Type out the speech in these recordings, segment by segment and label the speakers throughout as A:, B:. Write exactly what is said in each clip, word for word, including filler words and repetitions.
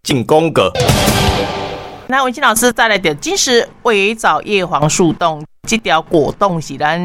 A: 进广告。
B: 那文馨老师再来著金石微藻叶黄素冻，這條果凍是咱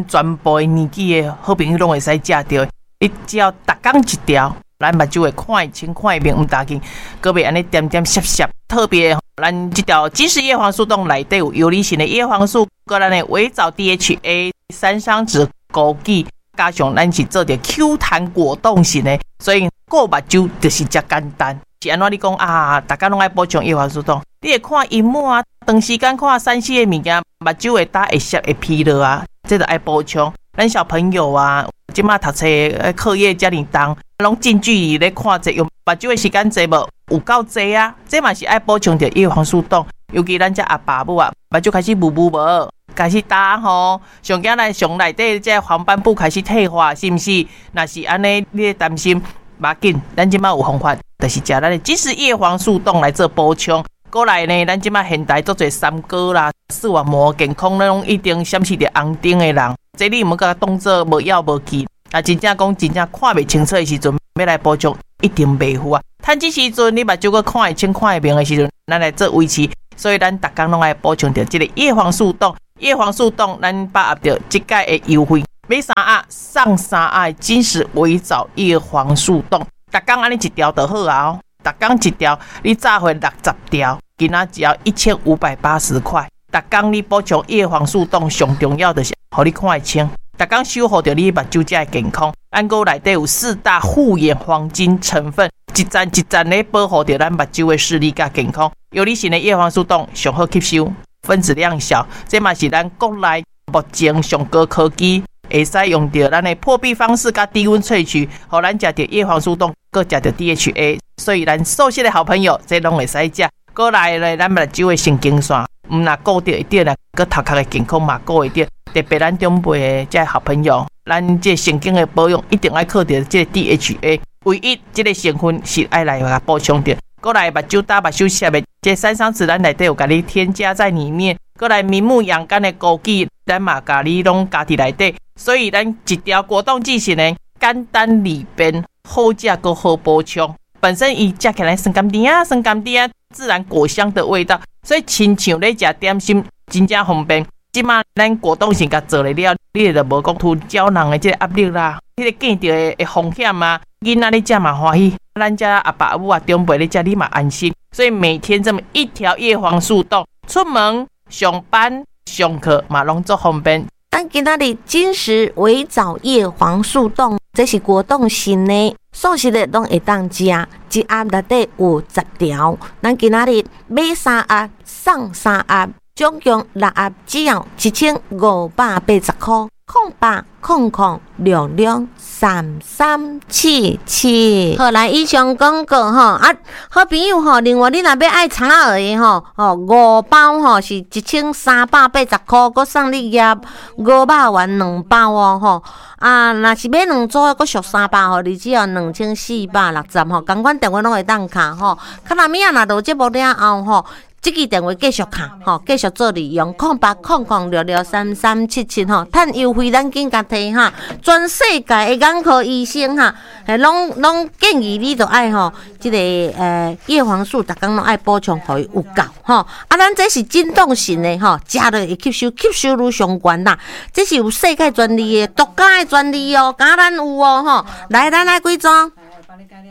B: 全部的年紀的好朋友攏會使食著。你只要逐工一條，咱目睭會看會清看會明，毋焦緊，閣袂按呢點點澀澀。特別咱這條金石葉黃素凍內底有游離型的葉黃素，閣咱的微藻 D H A、山桑子、枸杞，加上咱是做著 Q 彈果凍型的，所以顧目睭就是遮簡單。是按怎你講啊？逐工攏愛補充葉黃素凍，你會看螢幕啊，長時間看三 C 的物件，目睭會焦會澀會疲勞啊，這就愛補充。咱小朋友啊，這馬讀冊課業遮爾重，攏近距離咧看冊，用目睭的時間濟無？有夠濟啊！這嘛是愛補充著葉黃素凍。尤其咱遮阿爸母啊，目睭開始霧霧無，開始焦吼，上驚咱上內底這黃斑部開始退化，是毋是？若是按呢，你咧擔心，無要緊，咱這馬有方法，就是食咱的金石葉黃素凍來做補充。過來呢，咱這馬現代足濟三高啦，視網膜健康，咱攏一定閃示著紅燈的人，這你毋好共當做無藥無劑。啊，真正講真正看袂清楚的時陣，欲來補充一定袂赴啊。趁這時陣你目睭閣看會清看會明的時陣，咱來做維持。所以咱逐工攏愛補充著這個葉黃素凍，葉黃素凍，咱把握著這擺的優惠，買三盒送三盒的金石微藻葉黃素凍，逐工按呢一條就好啊。逐工一條，你早會六十條，今仔只要一千五百八十塊。逐工你補充葉黃素凍，上重要就是予你看會清。逐工守護著你目睭才會健康。咱閣內底有四大護眼黃金成分，一層一層咧保護著咱目睭的視力佮健康。游離型的葉黃素凍上好吸收，分子量小，這嘛是咱國內目前上高科技，會使用著咱的破壁方式佮低溫萃取，予咱食著葉黃素凍，閣食著 D H A，所以咱素食的好朋友，這攏會使食。閣來咧，咱目睭的神經線，毋若顧著會著啦，閣頭殼的健康嘛顧會著。特別咱長輩的這好朋友，咱這神經的保養一定愛靠著這個 D H A，唯一這個成分是愛來共補充著。閣來目睭焦目睭澀的，這山桑子咱內底有共你添加在裡面。閣來明目養肝的枸杞，咱嘛共你攏加佇內底。所以咱一條果凍劑型的簡單利便，好食閣好補充。本身伊食起來酸甘甜啊，酸甘甜啊，自然果香的味道，所以親像咧食點心，真正方便。這馬咱果凍型共做了了，你就無講吞膠囊的這個壓力啦，彼個見著的的風險啊，囡仔咧食嘛歡喜，咱遮阿爸阿母啊長輩咧食你嘛安心。所以每天這麼一條葉黃素凍，出門上班上課嘛攏足方便。
C: 咱今仔日金石微藻葉黃素凍，這是果凍型的，素食的攏會當食，一盒內底有十條。咱今仔日買三盒送三盒，總共六盒，只要一千五百八十箍。空八空空兩兩三三七七。好，來以上廣告吼啊，好朋友吼，另外你若欲愛柴仔的吼，吼五包吼是一千三百八十箍，閣送你葉五百元兩包哦吼。啊，若是買兩組的，閣俗三百吼，你只要兩千四百六十吼，仝款電話攏會當敲吼。較若物仔若落節目了後吼，這支電話繼續敲吼，繼續做利用，空八空空六六三三七七吼，趁優惠咱緊共提哈。全世界的眼科醫生哈，攏攏建議你著愛吼，這個呃葉黃素，逐工攏愛補充，予伊有夠吼。啊，咱這是振動型的吼，食落會吸收，吸收率上懸啦。這是有世界專利的，獨家的專利哦，敢咱有哦吼。來，咱愛幾組？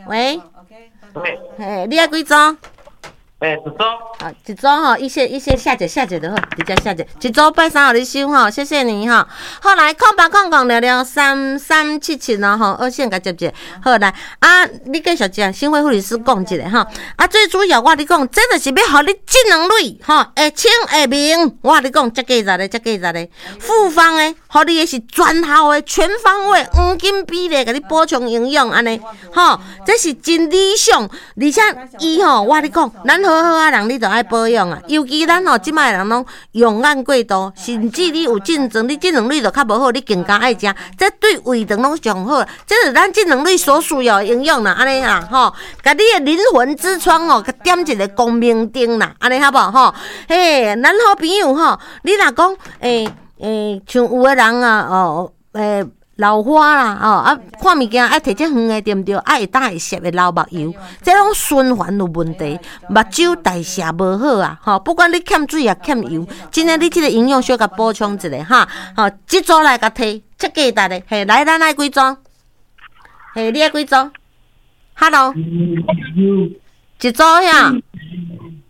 C: 喂？嘿，你愛幾組？
D: 欸，一組。
C: 啊，一組吼，一些一些下一下一就好，直接下一，一組拜三予你收吼，謝謝你吼。好來，空八空空六六三三七七哦吼，二線共接者。好來，啊，你繼續食，新會護理師講一下吼。啊，最主要我共你講，這就是欲予你這兩類吼，會清會明。我共你講，這價值的，這價值的，複方的，予你的是全效的，全方位黃金比例，共你補充營養按呢，吼，這是真理想，而且伊吼，我共你講，咱好好仔人，你著愛保養啊。尤其咱吼，這擺的人攏用眼過度，甚至你有症狀，你這兩類就較無好，你更加愛食。這對胃腸攏上好，這是咱這兩類所需要的營養啦，按呢啦吼，共你的靈魂之窗哦，共點一個光明燈啦，按呢好無吼？嘿，咱好朋友吼，你若講欸欸，像有的人啊，哦，欸。老花啦，哦啊，看物件愛提這遠的對毋對？啊，會當會澀會流目油，這攏循環有問題，目睭代謝無好啊，吼，不管你欠水抑欠油，真的你這個營養小共補充一下哈，吼，這組來共提，這價值的，嘿，來，咱愛幾組？嘿，你愛幾組？Hello，一組呀。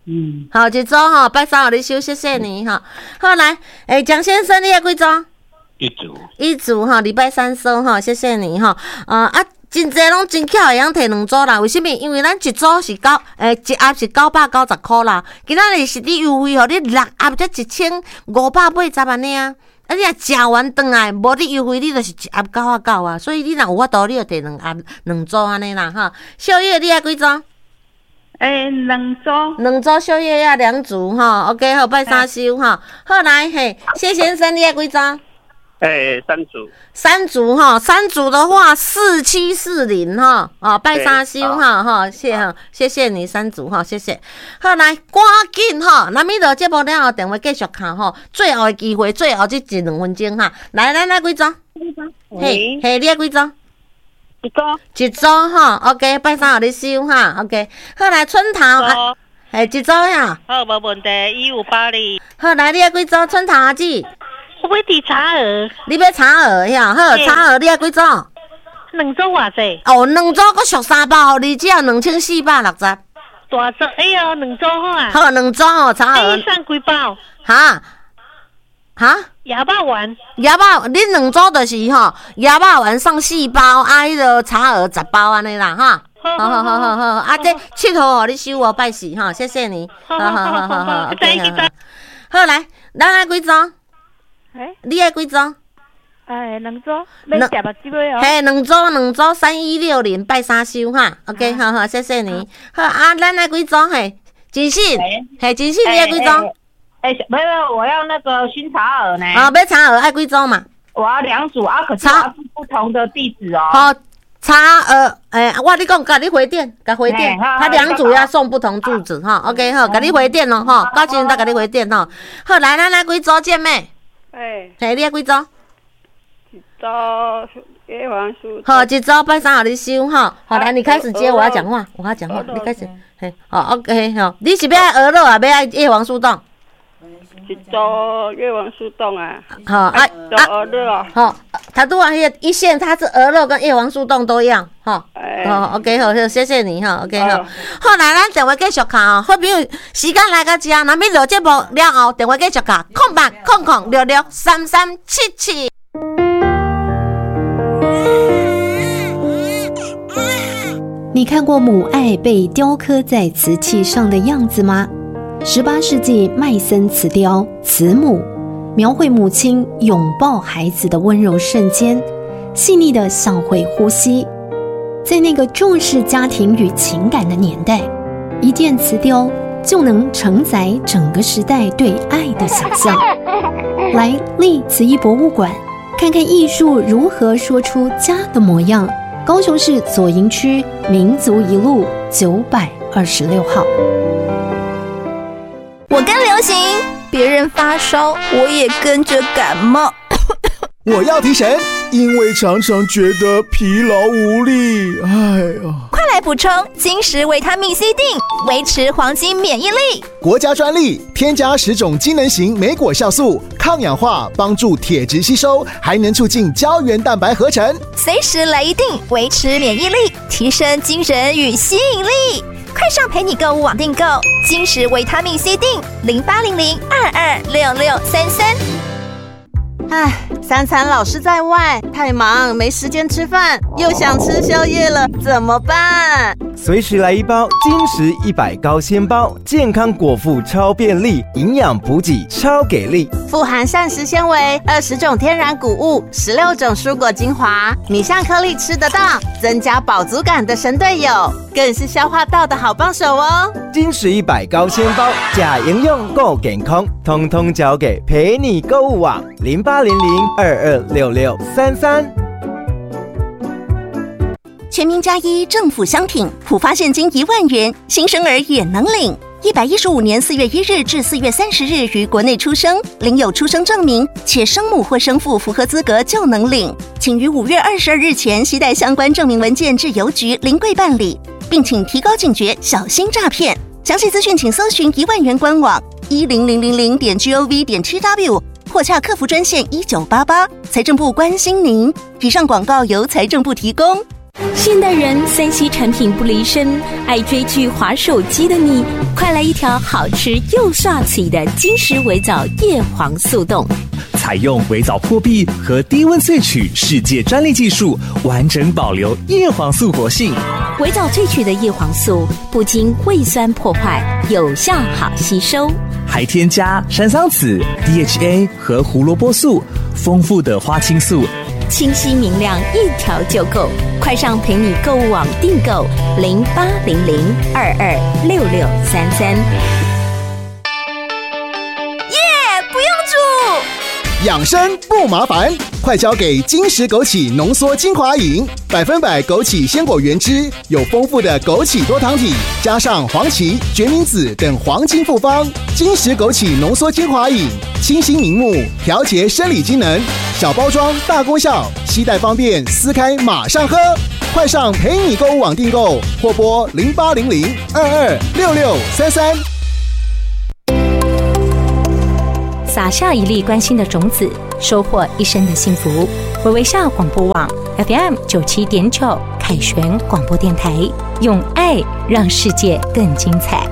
C: 嗯，好，一組吼，拜三予你收，謝謝你吼。好來，欸，蔣先生，你愛幾組？
A: 一組。
C: 一組吼，禮拜三收吼，謝謝你吼。呃啊，真濟攏真巧會曉提兩組啦，為啥物？因為咱一組是九，欸，一盒是九百九十箍啦。今仔日是佇優惠，予你六盒才一千五百八十按呢啊。啊，你若食完轉來，無佇優惠，你就是一盒九仔九啊。所以你若有法度，你就提兩盒兩組按呢啦吼。小葉，你愛幾組？
D: 欸，兩組，
C: 兩組小葉仔兩組吼，OK 好，拜三收吼。好來嘿，謝先生，你愛幾組？
A: 欸，三組。
C: 三組吼，三組的話四七四零吼，哦，拜三收哈吼，謝哈，謝謝你三組吼，謝謝。好來，趕緊吼，咱咪落節目了後電話繼續敲吼，最後的機會，最後這一兩分鐘哈。來，咱愛幾組？嘿，嘿，你愛幾組？
D: 一組，
C: 一組吼，OK，拜三予你收哈，OK。好來，春桃，啊，嘿，一組呀。
D: 好，無問題，一五八零。
C: 好，來，你愛幾組？春桃阿姊。
D: 我欲佇茶盒。
C: 你欲茶盒呀？好，茶盒你愛幾組？
D: 兩組偌濟？
C: 哦，兩組閣俗三包，予你只要兩千四百六十。
D: 大組，哎喲，兩組好啊。
C: 好，兩組哦，茶盒。
D: 你送幾包？
C: 哈？哈？
D: 鴨肉丸，
C: 鴨肉，恁兩組就是吼，鴨肉丸送四包，啊，彼个茶盒十包按呢啦，哈。好好好好好，啊，這七號予你收哦，拜四哈，謝謝你。好好好好好，OK 好。好來，咱愛幾組？
D: 欸，
C: 你愛幾組？
D: 哎，兩組，欲食目睭的哦。
C: 嘿，兩組兩組三一六零拜三收哈，OK，好好，謝謝你。好啊，咱愛幾組？嘿，真信，嘿，真信，你愛幾組？
E: 欸，沒有，我要那個薰茶盒呢。
C: 啊，欲茶盒愛幾組嘛？
E: 我要兩組啊，可是我要不同的地址哦。
C: 好，茶盒，欸，我你講，共你回電，共回電，他兩組要送不同住址哈。OK，好，共你回電咯吼，到時陣再共你回電吼。好，來，咱來幾組姐妹？
F: 欸，
C: 嘿，你愛幾組？
F: 一組葉黃素。
C: 好，一組拜三予你收哈。好，來，你開始接，我要講話，我要講話，你開始。嘿，好，OK，好，你是欲愛鵝肉啊，欲愛葉黃素凍？
F: 一組葉黃素凍啊，
C: 好啊啊，好，他拄仔彼個一線，他是鵝肉跟葉黃素凍都要，哈，好，OK，好，謝謝你哈，OK，好，好來，咱電話繼續敲哦，好朋友，時間來到這，若欲落節目了後，電話繼續敲，空八空空六六三三七七。
G: 你看過母愛被雕刻在瓷器上的樣子嗎？十八世紀麥森瓷雕《慈母》，描繪母親擁抱孩子的溫柔瞬間，細膩的像會呼吸。在那個重視家庭與情感的年代，一件瓷雕就能承載整個時代對愛的想象。來麗瓷藝博物館，看看藝術如何說出家的模樣。高雄市左營區民族一路九百二十六號。
H: 我跟流行，別人發燒，我也跟着感冒。
I: 我要提神，因為常常覺得疲勞無力。哎呀，
H: 快來補充金石維他命 C 錠，維持黃金免疫力。
I: 國家專利，添加十種機能型莓果酵素，抗氧化，幫助鐵質吸收，還能促進膠原蛋白合成。
H: 隨時來一錠，維持免疫力，提升精神與吸引力。快上陪你購物網訂購金石維他命 C 錠，零八零零二二六六三三。
J: 唉，三餐老是在外，太忙沒時間吃飯，又想吃宵夜了，怎麼辦？
K: 隨時來一包金石一百高纖包，健康果腹超便利，營養補給超給力，
J: 富含膳食纖維，二十種天然穀物，十六種蔬果精華，米像顆粒吃得到，增加飽足感的神隊友，更是消化道的好幫手哦。
K: 金石一百高纖包，食營養夠健康，通通交給陪你購物網零八零零二二六六三三。
L: 全民加一，政府相挺，普發現金一萬元，新生兒也能領。一百一十五年四月一日至四月三十日於國內出生，領有出生證明，且生母或生父符合資格就能領。請於五月二十二日前攜帶相關證明文件至郵局臨櫃辦理，並請提高警覺，小心詐騙。詳細資訊請搜尋一萬元官網一零零零零點 gov 點 tw 或洽客服專線一九八八。財政部關心您。以上廣告由財政部提供。
M: 現代人三 C 產品不離身，愛追劇、滑手機的你，快來一條好吃又帥氣的金石微藻葉黃素凍。
N: 採用微藻破壁和低溫萃取世界專利技術，完整保留葉黃素活性。
M: 微藻萃取的葉黃素不經胃酸破壞，有效好吸收，
N: 還添加山桑子、D H A 和胡蘿蔔素，豐富的花青素。
M: 清晰明亮，一條就夠。快上陪你購物網訂購零八零零二二六六三三。
H: 耶！不用煮，
I: 養生不麻煩，快交給金石枸杞濃縮精華飲，百分百枸杞鮮果原汁，有豐富的枸杞多糖體，加上黃芪、決明子等黃金複方，金石枸杞濃縮精華飲，清新明目，調節生理機能，小包裝大功效，攜帶方便，撕開馬上喝。快上陪你購物網訂購，或撥零八零零二二六六三三。
M: 撒下一粒關心的種子，收穫一生的幸福。微微笑廣播網 F M 九七點九凱旋廣播電台，用愛讓世界更精彩。